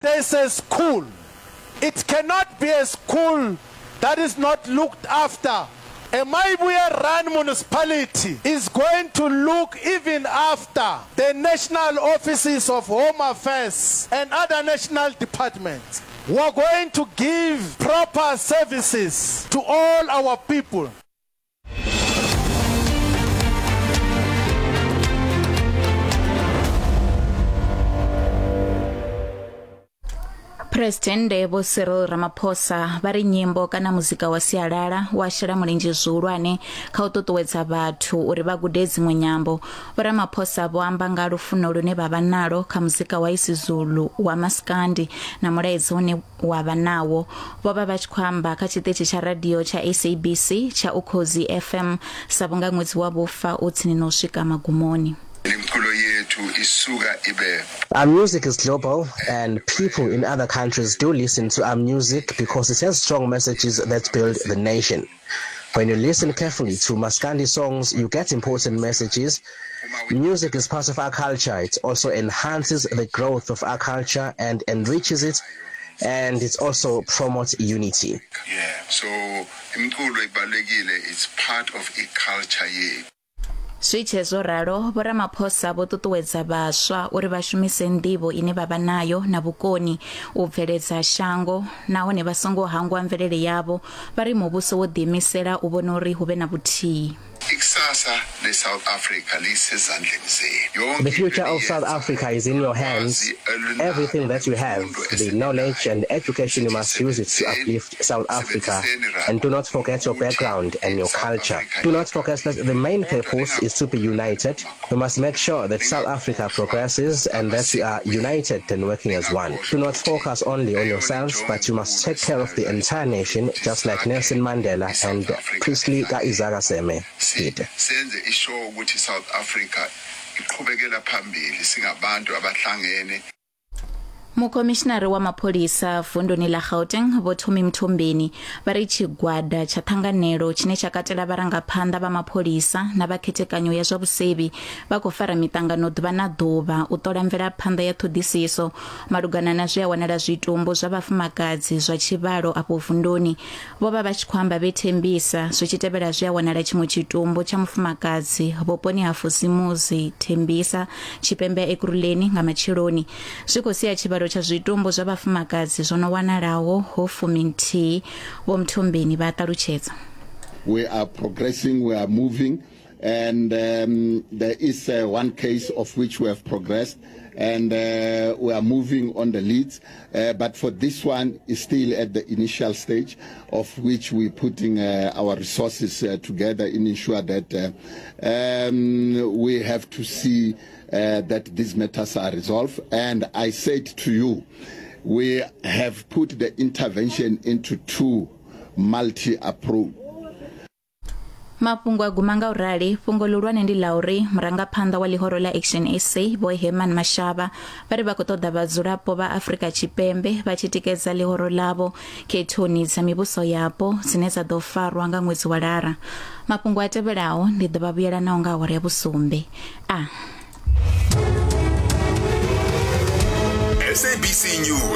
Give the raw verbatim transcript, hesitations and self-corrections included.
there is a school, it cannot be a school that is not looked after. A Mayibuye run municipality is going to look even after the national offices of Home Affairs and other national departments. We are going to give proper services to all our people. Presidennde Vho Cyril Ramaphosa vha ri nyimbo kana muzika wa sialala wa shela mulenzhe zwihulwane kha u ṱuṱuwedza vhathu uri vha gude dziṅwe nyambo. Vho Ramaphosa vho amba nga lufuno lune vha vha nalo kha muzika wa isiZulu wa maskandi na mulaedza une wa vha nawo. Vho vha vha tshi khou amba kha tshiṱitshi tsha radio tsha S A B C tsha Ukhozi F M sa vhunga ṅwedzi wa vhufa u tsini na u swika magumoni. Our music is global, and people in other countries do listen to our music because it has strong messages that build the nation. When you listen carefully to Maskandi songs, you get important messages. Music is part of our culture. It also enhances the growth of our culture and enriches it, and it also promotes unity. Yeah, so it's part of a culture. Yeah. Zwi tshe zwo ralo, Vho Ramaphosa vho ṱuṱuwedza vhaswa uri vha shumise nḓivho ine vha vha nayo na vhukoni u bveledza shango nahone vha songo hangwa mvelele yavho. Vha ri muvhuso wo ḓiimisela u vhona uri hu vhe na vhuthihi. The future of South Africa is in your hands. Everything that you have, the knowledge and education, you must use it to uplift South Africa. And do not forget your background and your culture. Do not forget that the main purpose is to be united. We must make sure that South Africa progresses and that we are united and working as one. Do not focus only on yourselves, but you must take care of the entire nation, just like Nelson Mandela and Priestley Ka-Isaka Seme did. Senze isho ukuthi South Africa iqhubekela phambili singabantu abahlangene. Mukhomishinari wa mapholisa vunduni ḽa Gauteng Vho Thumi Mthombeni vha ri tshigwada tsha ṱhanganelo tshine tsha katela vharangaphanḓa vha mapholisa na vha khethekanyo ya zwa vhusevhi vha khou fara miṱangano ḓuvha na ḓuvha u ṱola mvelaphanḓa ya ṱhoḓisiso malugana na zwe a wanala zwitumbu zwa vhafumakadzi zwa tshivhalo afho vunduni. Vho vha vha tshi khou amba vhe Thembisa zwi tshi tevhela zwe a wanala tshiṅwe tshitumbu tsha mufumakadzi vhuponi ha Fusimuzi Thembisa Tshipembe Ekurhuleni nga matsheloni. Zwi khou sia tshivhalo tsha zwitumbu zwa vhafumakadzi zwo no wanalaho ho fuminthihi. Vho Mthombeni vha ṱalutshedza. We are progressing, we are moving, and um, there is uh, one case of which we have progressed, and uh, we are moving on the leads, uh, but for this one is still at the initial stage, of which we're putting uh, our resources uh, together in ensure that uh, um, we have to see uh, that these matters are resolved. And I said to you, we have put the intervention into two multi-approach. Mafhungo a guma nga u rali. Fhungo ḽihulwane ndi ḽa uri murangaphanḓa wa ḽihoro ḽa Action S A Vho Herman Mashaba vha ri vha khou ṱoḓa vhadzulapo vha Afrika Tshipembe vha tshi tikedza ḽihoro ḽavho khethoni dza mivhuso yapo dzine dza ḓo farwa nga ṅwedzi wa Lara. Mafhungo a tevhelaho ndi ḓo vha vhuyela nao nga awara ya vhusumbe. A S A B C News.